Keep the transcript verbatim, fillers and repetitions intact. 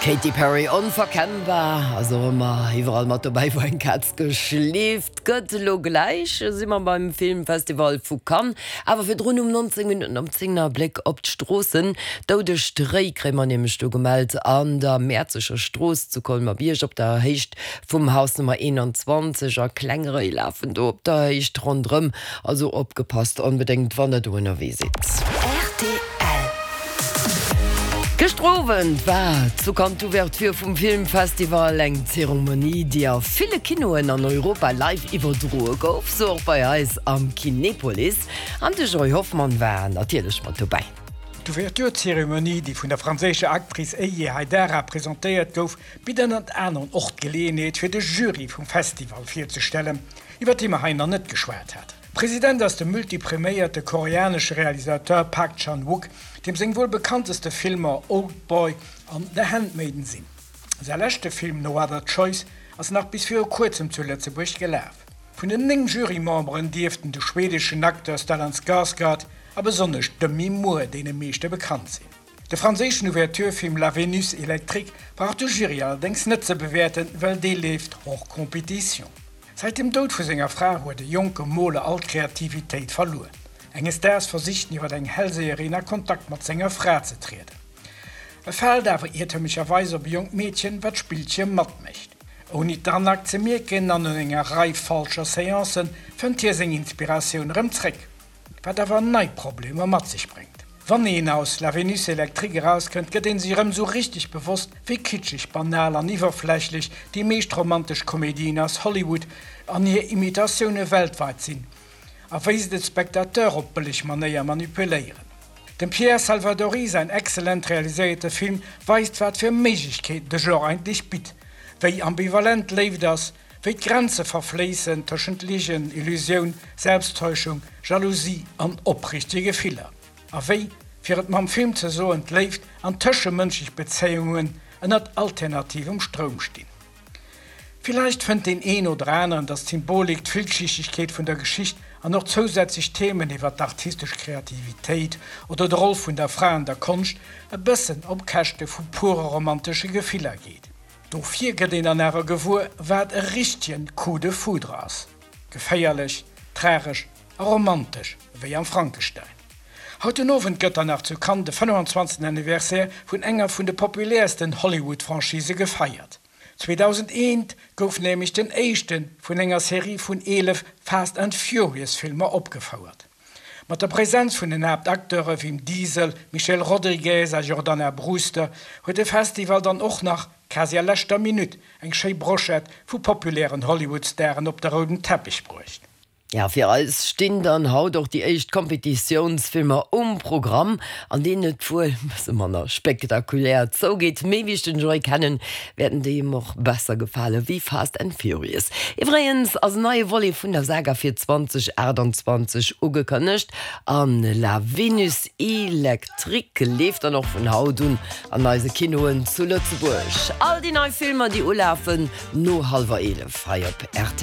Katy Perry onverkennbar, also ëmmer iwwerall mat dobäi wou eng Kaz geschleeft gëtt. Lo gläich si mer beim Filmfestival vu Cannes, awer virdrun um nonzéng Minutten op zéng e Bléck op d'Stroossen. Doudeg Réi kréie mer nämlech do gemellt an der Mäerzeger Strooss zu Colmer-Bierg op der Héicht vum Haus Nummer eenanzwanzeg a kleng Réi lafen do op der Héicht ronderëm, also opgepasst onbedéngt wann der do ënnerwee sidd. R T L. Gëschter Owend war zu Cannes d'Ouverture vum Filmfestival, eng Zeremonie, déi a ville Kinoen an Europa live iwwerdroe gouf, sou och bei eis am Kinepolis. An de Joy Hoffmann war natierlech mat dobäi. D'Ouverture-Zeremonie, déi vun der franséischer Actrice Eyi Haidara presentéiert gouf, bitt ënnert anerem och d'Geleeënheet fir de Jury vum Festival virzestellen, iwwer dee mer hei nach net geschwat haten. President ass de multipreméierte koreanesche Realisateur Park Chan-wook, deem seng wuel bekannteste Filmer Oldboy an The Handmaiden sinn. Säi leschte Film No Other Choice ass nach bis viru kuerzem zu Lëtzebuerg gelaf. Vun den néng Jurymemberen dierften de schweedeschen Acteur Stellan Skarsgård a besonnesch Demi Moore deene meeschte bekannt sinn. De franséischen Ouverture-Film La Vénus électrique brauch de Jury allerdéngs net ze bewäerten, well dee leeft hors compétition. Säit dem Doud vu senger Fra huet de jonke Moler all Kreativitéit verluer. Enges Daags versicht en iwwer eng Hellseherin a Kontakt mat senger Fra ze trieden. E fält awer iertemlecherweis op e jonkt Meedchen, wat d'Spillche matmécht. Ouni d'Arnaque ze mierken an no enger Rei falscher Seancen fënnt hie seng Inspiratioun erëm zréck, wat awer nei Problemer mat sech bréngt. Wann een aus La Vénus électrique erauskënnt, gëtt een sech erëm sou richteg bewosst, wéi kitscheg, banal an iwwerflächlech déi meescht romantesch Komedien aus Hollywood an hir Imitatioune weltwäit sinn a wéi se de Spectateur op bëlleg Manéier manipuléieren. Dem Pierre Salvadori säin exzellent realiséierte Film weist, wat fir Méiglechkeeten de Genre eigentlech bitt, wéi ambivalent Léift ass, wéi d'Grenze verfléissen tëschent Ligen, Illusioun, Selbsttäuschung, Jalousie an opriichtege Gefiller. A wéi, fir et mam Film ze soen, d'Léift an tëschemënschlech Bezéiungen ënnert alternativem Stroum stinn. Villäicht fënnt deen een oder aneren, datt d'Symbolik, d'Villschichtegkeet vun der Geschicht an och zousätzlech Themen iwwer d'artistesch Kreativitéit oder d'Roll vun der Fra an der Konscht e bëssen op Käschte vu pure romantesche Gefiller geet. Dofir gëtt een dann awer gewuer, wat e richtege Coup de foudre ass. Geféierlech, tragesch a romantesch, wéi am Frankenstein. Haut den Owend gëtt dann nach zu Cannes de fënnefenzwanzegsten Anniversaire vun enger vun de populäersten Hollywood-Franchisë gefeiert. zweedausendeen gouf nämlech den éischte vun enger Serie vun eelef Fast and Furious-Filmer opgefouert. Mat der Presenz vun den Haaptacteure Vin Diesel, Michelle Rodriguez a Jordana Brewster huet de Festival dann och nach, quasi a leschter Minutt, eng schéi Brochette vu populären Hollywood-Staren op de rouden Teppech bruecht. Ja, fir eis stinn dann haut och déi éischt Kompetitiounsfilmer um Programm, an deenen et wuel e bësse manner spektakulär zougeet. Mee wéi ech den Joy kennen, wäerten déi him och besser gefale wéi Fast and Furious. Iwwregens ass en neie Volet vun der Saga fir zweedausendachtundzwanzeg ugekënnegt an La Vénus électrique leeft dann och vun haut un an eise Kinoen zu Lëtzebuerg. All déi nei Filmer, déi ulafen no hallwer eelef hei op R T L.